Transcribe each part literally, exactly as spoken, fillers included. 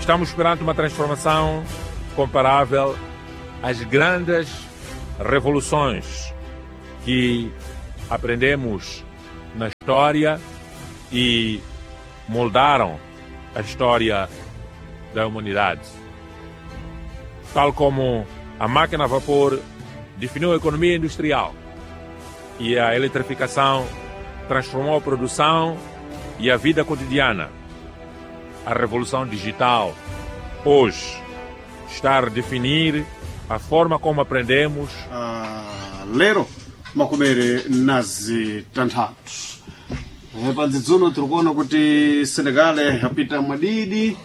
Estamos perante uma transformação comparável às grandes revoluções que aprendemos na história e moldaram a história da humanidade. Tal como a máquina a vapor definiu a economia industrial e a eletrificação transformou a produção e a vida cotidiana, a revolução digital hoje está a redefinir a forma como aprendemos. Ah, lero makumere nazi tanthatu. Eh, padzidzuno tiri kuona kuti Senegal yapita mwadidi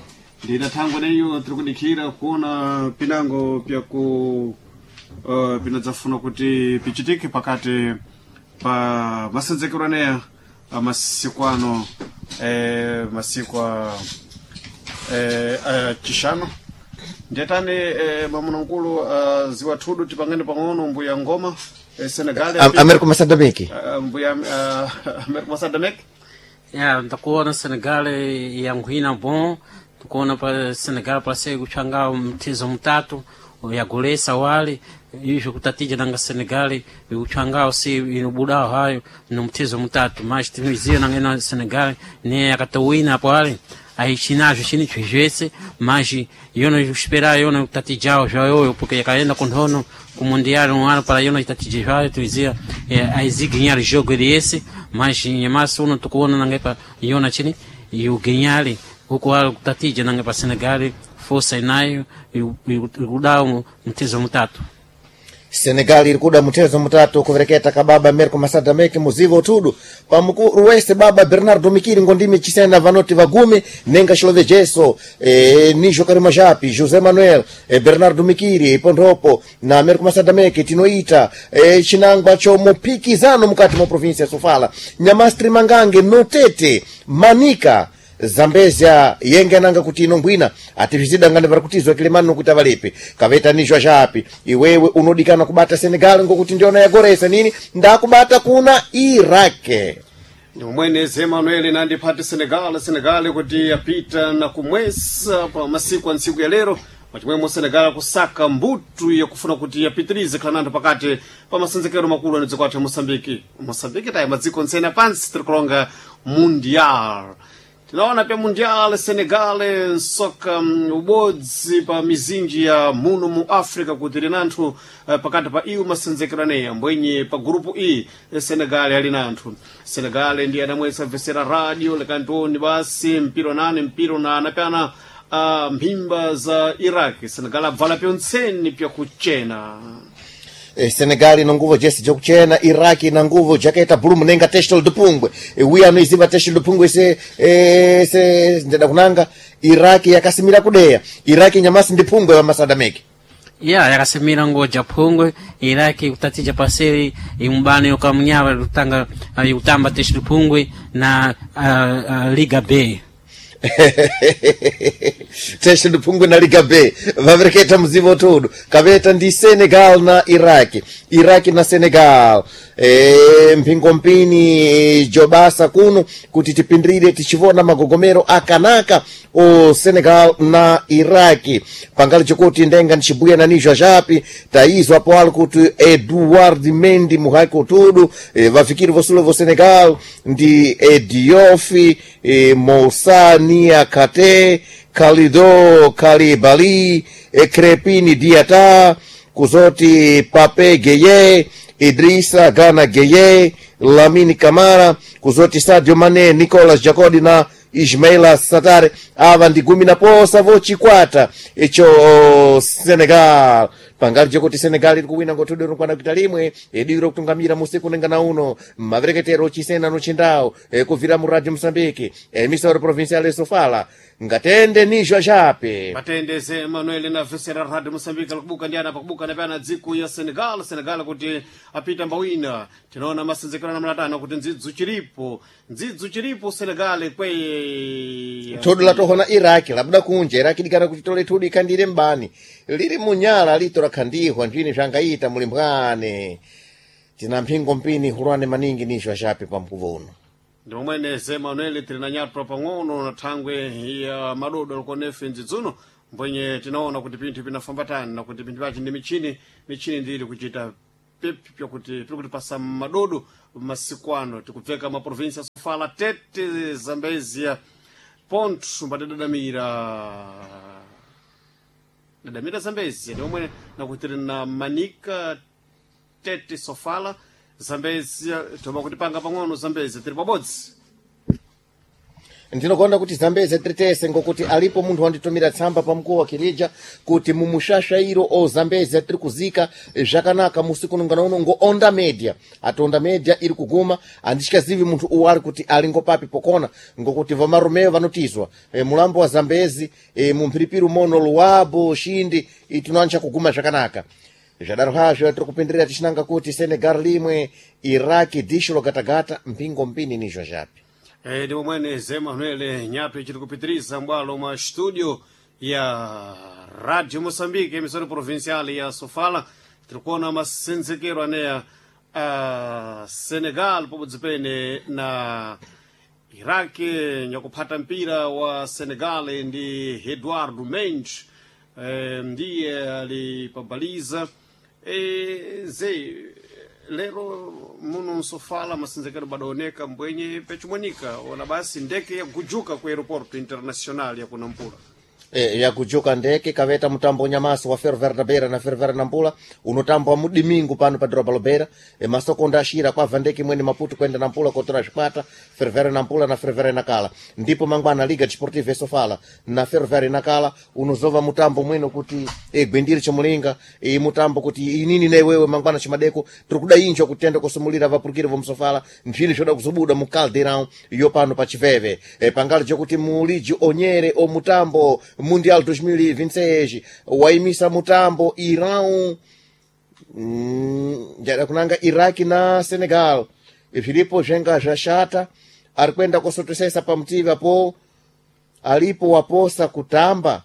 ndina thangwe neyo tiri kudikhira kuona pinango pyaku uh, pinadzafuna kuti pichitike pakati pa masenzekero aneya amasiku ano eh, masiku a eh, a chishanu. Ndiyatani eh, mamunankulu uh, ziwathudu tipangane pang'ono mbuya ngoma eh, Senegal Am- Américo Massadameke. uh, mbuya uh, Américo Massadameke. Ya, ndakuona Senegal yanguhina bom, tukuona pa Senegal parece kuchanga mtizo mutatu yagolesa wale izvo kutatija nanga Senegal uchangao si inobudao hayo no mtizo mutatu, mas timiziyo nanga ina Senegal ne yakatowina apo ale aichinazvo chini chvezvese, mas yona esperar yona kutatijao zvayoyo porque yakaenda kunhono ku mundial um ano para yona itatije zvayo tuizia eh, aiziganhar jogo ele esse, mas nyamasi uno tukuona nanga pa yona chini iuganhar huku ali kutatija nanga pa Senegal força inayo ikudao mtizo mutatu. Senegal iri kuda mutezo mutatu kuvereketa kababa Americo Massadameke muzivo tudu pamukuru wese baba Bernardo Mikiri ngondimi chisena vanoti vagumi nenga xilovejeso e, nijo karima japi José Manuel e, Bernardo Mikiri pondropo na Americo Massadameke tinoita e, chinangwa cho mupikizano mukati mwa provinsia ya Sofala Nyamastri Mangange Notete Manika Zambezia yenge ananga kuti ino ngwina atizvidangane vari kutizwa kilemani nokuti avalipi kavetanizwa zvapi iwewe unodikana kubata Senegal ngokuti ndiona yagoresa nini ndakubata kuna Irake. Ndimwene Emanuel nandipati Senegal Senegal kuti yapita na kumwesa pa masiku a ntsiku ya lero pachimwemo Senegal kusaka mbutu yakufuna kuti yapitirize khalananthu pakati pa masenzekero makulu a dziko athu ya Moçambique. Moçambique tayi madziko ntsene pansi tiri kulonga mundial tinaona pya mundial Senegal nsoka mm, ubodzi pa mizinji ya muno mu Africa kuti linanthu eh, pakati pa iwo masenzekero aneya mbwenye pa grupu E eh, Senegal ali nanthu. Senegal ndiye adamwesa vesera radio lekantoni basi mpiro nane mpiro na anapyana uh, mphimba za Iraq. Senegal abvala pyontseni pyakuchena. Eh, Senegal ina nguvo jesi jakuchena Iraki ina nguvo jakaita bulu munenga testol de pungwe. Eh, wiya anoiziva testol de pungwe se, eh, se ndeda kunanga Iraki yakasimira kudeya Iraki nyamasi ndi pungwe wa Masadameke. Ya, yakasimira ngoja phungwe Iraki kutatija paseri imubano yokamunyawa kutanga ikutamba teshulu phungwe na uh, uh, Liga B. Teste do Pungwe na Liga B vavereketa muzivo tudu kaveta ndi Senegal na Iraki Iraki na Senegal e, mpingo mpini jobasa kuno kuti tipindire tichivona magogomero akanaka o Senegal na Iraki pangali chokuti ndenga ndichibuya na nizwa japi taizwa apo ali kuti Eduard Mendy muhaiko tudu e, vafikiri vosulo vo Senegal ndi Ediofi e, Moussa Niakate Kalido Kalibali e, Crepini Diata kuzoti Pape Gueye Idrissa Gana Gueye Lamine Kamara kuzoti Sadio Mane Nicolas Jacodi na Ismaila Satare ava ndi gumi na posa vochikwata icho Senegal pangali chokuti Senegal iri kuwina ngothudu rikwana kuita limwe idiro kutungamira musiku nengana uno mavereketero chisena no chindau e, kubvira mu radio Mosambiki emisoro provincial Sofala ngatende nizwa chape. Matendeze Emanuel na vesera radio Mosambiki alikubuka ndi ana pakubuka napyana dziko ya Senegal Senegal kuti apita mbawina tinaona masenzekero na mlatano kuti ndzidzu chiripo ndzidzu chiripo Senegal kweye thudu latohona Iraki labuda kunja Iraki dikana kuti tole thudu ikhandire mbani liri munyala lito lakhandihwa ndini zvangaita muli mbwane tina mphingo mpini hulwane maningi nizwa chape pa mkuvo uno. Ndi momwene Ze Manuel tili na nyatwa pang'ono na thangwe ya madodo alikuonefe ndzidzuno mbwenye tinaona kuti pinthu pinafambatani na kuti pinthu pachi ndi michini michini ndili kuchita pipi pyakuti piri kutipasa madodo masiku ano tikubveka maprovinsi ya Sofala, Tete, Zambezia, Ponto mbatidadamira dadamira Zambezia ndi momwene nakuti tili na Manika, Tete, Sofala, Zambezia toma kutipanga pang'ono Zambezia tili pabodzi. Ndinokonda kuti Zambezi tritese ngokuti alipo munthu wanditumira tsamba pa mkuwa wa Kirija kuti mumushashairo o Zambezi tiri kuzika zvakanaka musi kunungana uno ngo Onda Media ati Onda Media iri kuguma andityazivi munthu uwu ari kuti ali ngopapi pokona ngokuti vamarumeyo vanotizwa e, mulambo wa Zambezi e, mumphiripiri umono Luwabo Shindi tinoancha kuguma zvakanaka. Zvadaro hazvo tiri kupindirira tichinanga kuti Senegal limwe Iraki disho logatagata mpingo mpini nizvo zvapi. Eh, ndi momwene Ze Manuel nyato ichiri kupitiriza mbwalo mwa studio ya Radio Moçambique emissora provincial ya Sofala tiri kuona masenzekero aneya a Senegal pabodzi pene na Iraq nyakuphata mpira wa Senegal ndi Eduardo Mendes eh, ndiye ali pabaliza eh, ze lero muno nsofala masenzekero badaoneka mbwenye pechimonika ona basi ndeke yagujuka ku aeroporto internacional ya kunampula. E, yakujuka ndeke kaveta mutambo nyamasi wa Ferroviário da Beira na Ferroviário Nampula unotambwa mudimingu pano pa dhoroba Lobeira. E, masokonda ashira kwabva ndeke imweni Maputo kuenda Nampula kotora zvikwata Ferroviário Nampula na Ferroviário Nacala. Ndipo mangwana Liga Desportiva e Sofala na Ferroviário Nacala unozova mutambo mwino kuti e, gwindiri chomulinga e, mutambo kuti inini na iwewe mangwana chimadeko tiri kuda injo kutenda kusumulira vapurukiri vomusofala mphini zvoda kuzobuda mu caldeirão yo pano pa chiveve e, pangali chokuti muliji onyere o mutambo Mundial dois mil e vinte e seis waimisa mutambo Irão mm, njada kunanga Iraki na Senegal zviripo zvenga zvashata ari kuenda kosotosesa pamutivi apo alipo waposa kutamba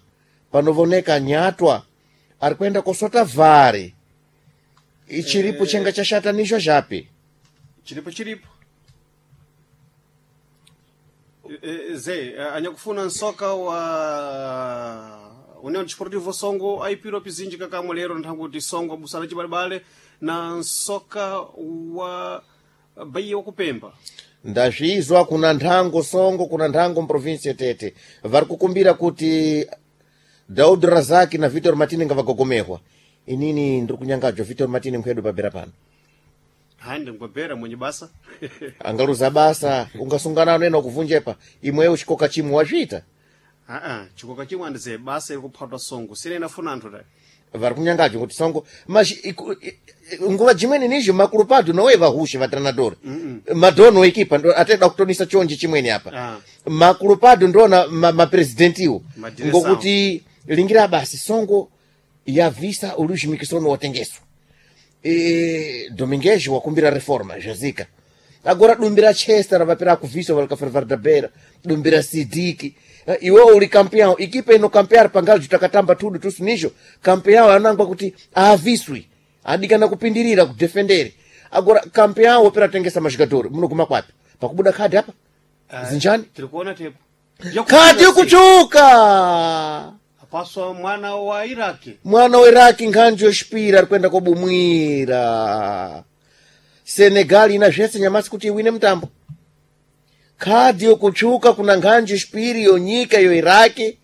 panovoneka nyatwa ari kuenda kosota vhari ichiripo chenga chashata nizvo zvapi. Chiripo chiripo E, e, ze eh, anyakufuna nsoka wa União Desportivo Songo aipiro pizinji kakamwe lero nthanguti Songo abusana chibalebale na nsoka wa Bahia wakupemba. Ndazvizwa kuna nthango Songo kuna nthango muprovinsi yetete vari kukumbira kuti Daud Razaki na Vitor Martini ngavagogomehwa. Inini ndiri kunyangadzwa Vitor Martini mkwedu pabera pano. Hayi ndingwebera mwenye basa. Angaluza basa ungasungana nena kuvunjepa imweyo chikoka chimwe wazviita. Aa, chikoka chimwe andize basa iri kuphatwa Songo sine inafuna anthu ta. Vari kunyangadzwa kuti Songo mas iku- i- i- nguva jimweni nizvo makulupado nowe vahushe vatranadori madhono ekipa ndo ateda kutonisa chonje chimweni apa. Ah. Makulupado ndona ma- maprezidentiwo Madiresawo. ngokuti lingira basi Songo yavisa Luís Miquissone watengeswa e, Domingues wakumbira reforma zvazika agora dumbira Chester vapera kuvisa valika da Beira dumbira Sidiki. Eh, iwe uli campeão equipa ino campear pangali takatamba tudu tusu nicho campeão anangwa kuti aaviswi adikana kupindirira kudefendere agora campeão wopera tengesa mashigadori munoguma kwapi pakubuda khadi apa zinjani. Tiri kuona tepo Khadi kuchuka. Apaswa mwana wa Iraki. Mwana wa Iraki nkhanji yoxipira ari kuenda kobumwira Senegal ina zvese nyamasi kuti iwine mutambo khadhi yokutsvuka kuna nkhanji yoxipiri yonyika yo Iraki.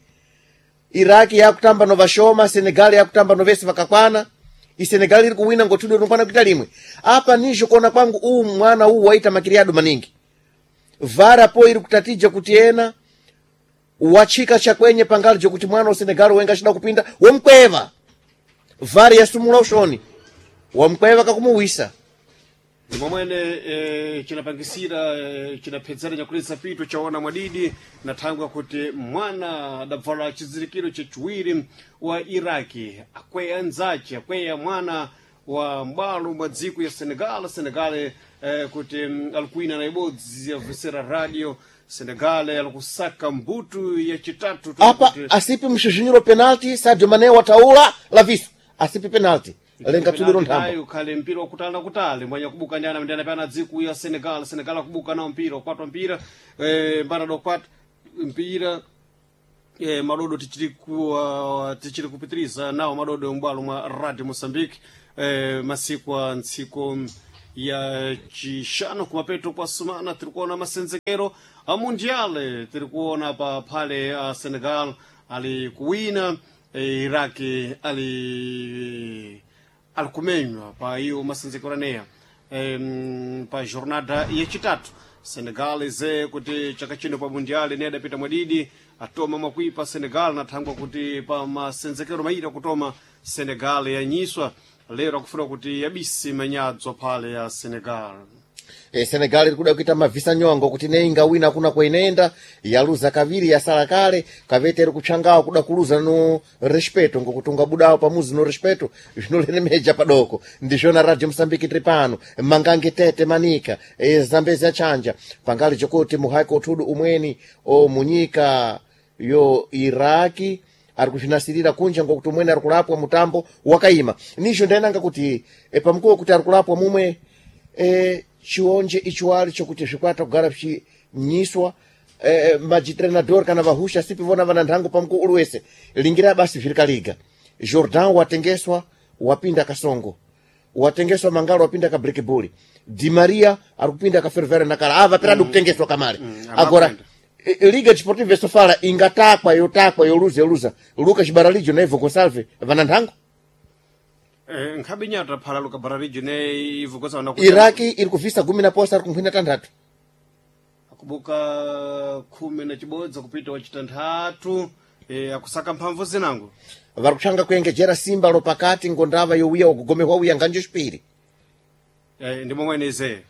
Iraki yakutamba no vashoma Senegal yakutamba no vese vakakwana iSenegal iri kuwina ngotudo rinokwana kuita limwe apa nizvo kuona kwangu uwu mwana uwu waita makiriado maningi vara po iri kutatija kuti ena wachika chakwenye pangali jokuti mwana wa Senegal wenga achida kupinda womkweva vari yasumula ushoni wamkweva kakumuwisa. Ndi momwene eh, chinapangisira eh, chinaphedzera nyakulisa pito chaona mwadidi na thangwe kuti mwana adabvala chizirikiro chachiwiri wa Iraki akweya anzace akweya mwana wa m'bwalo mwa dziko ya Senegal Senegal eh, kuti mm, alikuwina na ibodzi yabvesera radio Senegal alikusaka mbutu yachitatu Apa kuti- asipi msvizvinyiro penalti Sadio Mane wataula laviso asipi penalti. Lenga tsudiro nthambo. Ayo khale mpira wakutali na kutali mwanya kubuka ndi ana ndi anapana dziku ya Senegal. Senegal akubuka nawo mpira ukwatwa mpira eh, mbana dokwata mpira eh, madodo tichiri ku uh, tichiri kupitiriza nawo madodo m'bwalo mwa Radio Mozambique eh, masiku a ntsiko ya chixano kumapeto kwa sumana tiri kuona masenzekero a mundiale tiri kuona pa phale a Senegal ali kuwina eh, Iraki ali ali kumenywa pa iyo masenzekero aneya em, pa jornada yachitatu Senegal ize kuti chaka chino pa mundiale ne adapita mwadidi atoma mwakuipa Senegal nathangwa kuti pa masenzekero maira kutoma Senegal yanyiswa lero akufuna kuti yabisi manyadzwa phale ya Senegal. E, Senegal iri kuda kuita mavhisa nyongo kuti nei ingawina kuna kwainenda yaluza kaviri yasala kale kavete iri kutsvangawo kuda kuluza no respeto ngokuti ungabudawo pamuzi no respeto zvinolemeja padoko. Ndizvona Radio Mosambiki tiri pano mangange tete manika e, Zambezi achanja pangali chokuti muhaiko uthudu umweni o munyika yo Iraki ari kuzvinasirira kunja ngokuti umweni ari kulapwa mutambo wakaima. Nizvo ndainanga kuti e, pamukuwo kuti ari kulapwa mumwe e, chionje ichiwali chokuti zvikwata kugara zvichinyiswa e, majitrenador kana vahusha sipi vona vana nthango pamukuwo uli wese lingira basi zviri kaliga. Jordan watengeswa wapinda kasongo watengeswa mangalo wapinda ka breakball Di Maria ari kupinda ka Ferroviário nakala ava peradi mm. kutengeswa kamare Mm, agora amakwenda. e- Liga Desportiva Sofala ingatakwa yotakwa yoluza yoluza Lucas Baralijo na Ivo Gonçalves vana nthango. Eh, nkhabe nyata phala Luka Bararijo ne Ivo Gonçalves na Iraki iri kuvhisa gumi na posa ari kunkhwina tanthatu. akubuka khumi na chibodza kupita wachitanthatu eh, akusaka mphamvu zinango vari kutsvanga kuengejera simba lopakati ngondava yowiya ukugomehwa wiya nganjo chipiri. Eh, ndi momwene ize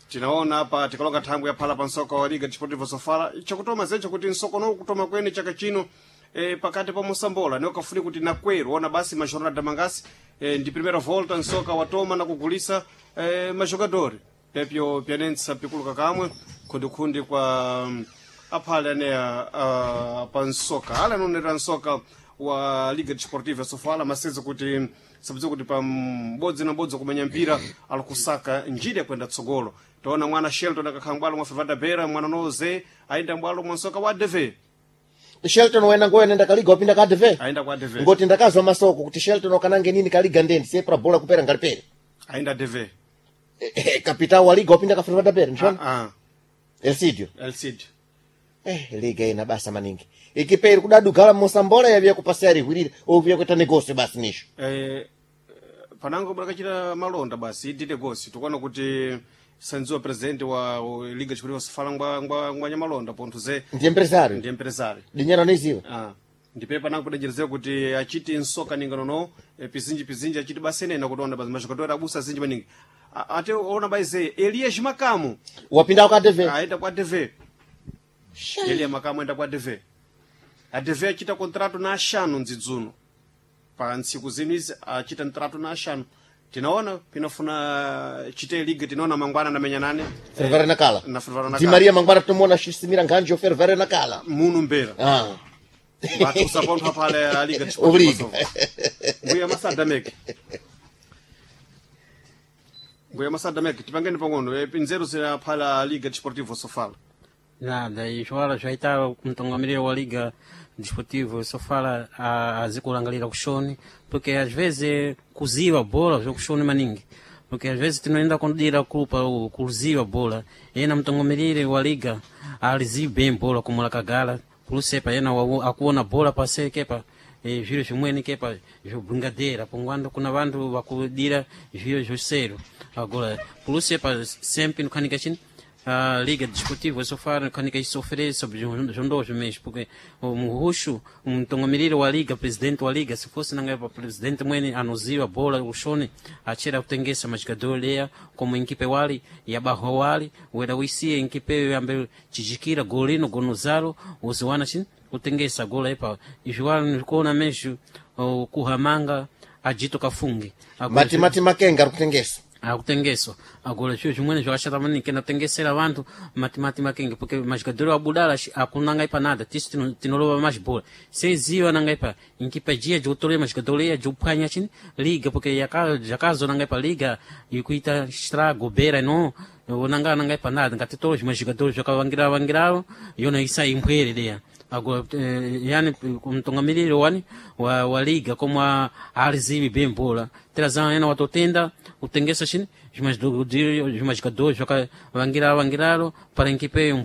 tinaona apa tikalonga thangwi yaphala pa msoka wa Liga Desportiva Sofala chakutoma zecho kuti msokono kutoma kwene chaka chino eh, pakati pa Mosambola ne ukafuni kuti nakweru ona basi majornada mangasi eh, ndi primeira volta msoka watoma na kugulisa eh, majogadori pepyo pyanentsa pikuluka kamwe khundikhundi kwa mm, aphale aneya uh, pa msoka ale anonera msoka wa Liga Desportiva Sofala masenza kuti sabudza kuti pa mbodzi na mbodzi kumenya mpira ali kusaka njira yakwenda tsogolo. Taona mwana Shelton akakhala mbwalo mwa Fevada Bera mwana noze ayenda mbwalo mwa msoka wa A D V. Shelton wena ngoyo nenda kaliga wapinda ka A D V ayenda kwa A D V ngoti ndakazwa masoko kuti Shelton wakanange nini kaliga ndendi sepra bola kupera ngalipere ayenda A D V. Eh, eh, kapitao wa liga wapinda ka Ferroviário Pera ndizvona ah Elcidio Elcid eh liga ina basa maningi ikipe iri kudadugala Mosambola yaviya kupasa rihwirira oviya kuita negosio basi nisho eh panango brakachita malonda basi idite gosi tikuona kuti sanziwa president wa wa Liga Desportiva Sofala ngwa ngwa ngwa nyamalonda pontho ze ndiye empresário ndi empresário dinyana niziwa. Ah, ndipe panango kudenjerezera kuti achiti nsoka ninganono eh, pizinji pizinji achiti basenena kuti ona basi majogadori abusa azinji maningi. A- ate ona baize Elias Makamu wapinda ka A D V aenda kwa A D V. Elias Makamu aenda kwa A D V. A D V achita contrato na axano ndzidzuno pa ntsiku zinu izi achita ntrato na axano tinaona pinafuna chite liga tinaona mangwana namenya nane Ferroviário nakala na Ferroviário Di Nacala. Maria mangwana tomuona achisimira nkhanji yo Ferroviário nakala munu mbera ah batusa pontho aphale a Liga Obriga. Mbuya masada meke mbuya masada meke tipangeni pang'ono eh, pinzeru zilaphala a Liga Desportivo Sofala. Nada, izvo zvaita mutungamiriri wa Liga Desportivo Sofala azikulangalira kushoni porque às vezes kuziva bola zvokushoni maningi porque às vezes tinoenda kudira kupa kuziva bola ena mutungamiriri wa liga alizivi bem bola como lakagala pulusepa ena wawo- akuona bola pasekepa eh, zviro zvimweni kepa zvobringadeira pongwando kuna vantu vakudira zviro zvosero agora pulusepa sempre nokhanika chini a Liga Desportiva Sofala nokhanika isofere sobre zvondozvo mesmo porque o muhushu mutungamiriri wa liga presidente wa liga se fosse nanga pa presidente mwene anoziva bola ushoni achera kutengesa majogador leya como enkipe wali yabarro wali wera uisiye enkipe yambe chichikira golino gonozalo uziwana chini kutengesa gola ipa izvi wali ndikuona mesmo oh, kuhamanga ajito kafunge Agora, Matimati Makenga ari kutengesa. Akutengeswa agora zviro zvimweni zvakashata maningi kenda kutengesera vantu matimati makenge, porque majogador abudala akunanga ipa nada. Tisu tino- tinolova majibhola seziva nanga ipa inkipa jia jotolera majogador iya jophwanya chini liga, porque yaka- jakazonanga ipa liga ikuita estrago bera ino onanga nanga ipa nada. Ngatitolo zvimwe zvigador zvakavangira vangiravo yona isa imbwere deya. Agora eh, yani mtungamiriri wani wa, wa liga como a alizivi bem bola terazana ena watotenda kutengesa chini zvimajogador zvakavangira vangiraro para equipe.